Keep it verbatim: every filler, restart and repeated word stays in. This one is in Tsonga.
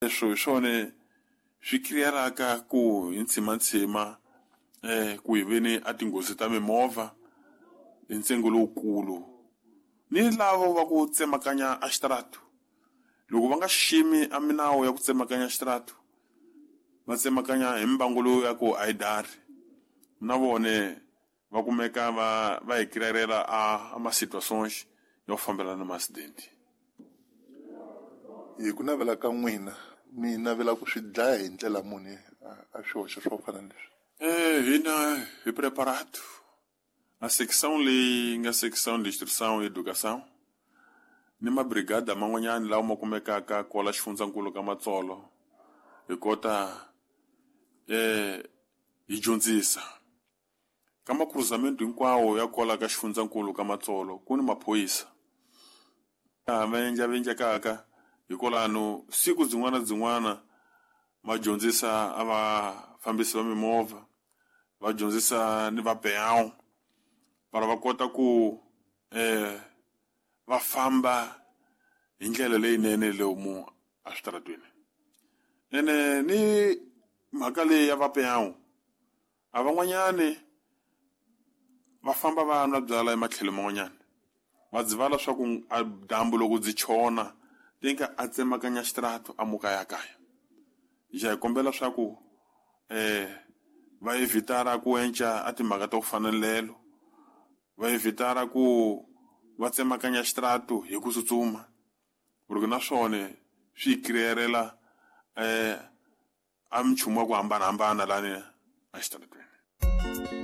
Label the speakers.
Speaker 1: Leswo hi swona swi create-aka ku hi ntshimanthsima um ku hi ve ni a tinghozi ta mimovha hi ntsengo lowukulu ni lavo va ku tsemakanya a xitarata loko va nga xiximi a minawu ya ku tsemakanya xitarata va tsemakanya hi mbangu lowu ya ku a yi dari na vone va kumeka va va hi create-ela a ma situations ya ku fambelana na ma-accident.
Speaker 2: Hi ku navela ka n'wina mi navela ku swi dlaya hi ndlela muni a swihoxo swo fana na leswi?
Speaker 1: Eh hina hi preparado a section leyi nga section de instrução e educação ni mabrigada man'wanyana lawa ma kumekaka kwala xifundzankulu ka Matsolo hi kota eh hi dyondzisa ka macruzamento hinkwawo ya kwala ka xifundzankulu ka Matsolo ku ni maphorisa va endla va endlekaka hikwalano siku byin'wana byin'wana va dyondzisa a vafambisi va mimovha va dyondzisa ni va peão para va kota ku eh va famba hi ndlela leyinene lomu eswitarateni ene ni mhaka leyi ya va peão a van'wanyani va famba va nwa byala ematlhelo man'wanyana va dzivala swa ku a dyambu loko byi chona tinka a tsemakanya xitarata a muka ya kaya ja hi kombela swa ku eh va evitara ku enca a timhaka ta ku fana na lelo va evitara ku va tsemakanya xitarata hi ku tsutsuma porque na swona swi create-ela eh a minchumu ya ku hambanahambana lani exitarateni.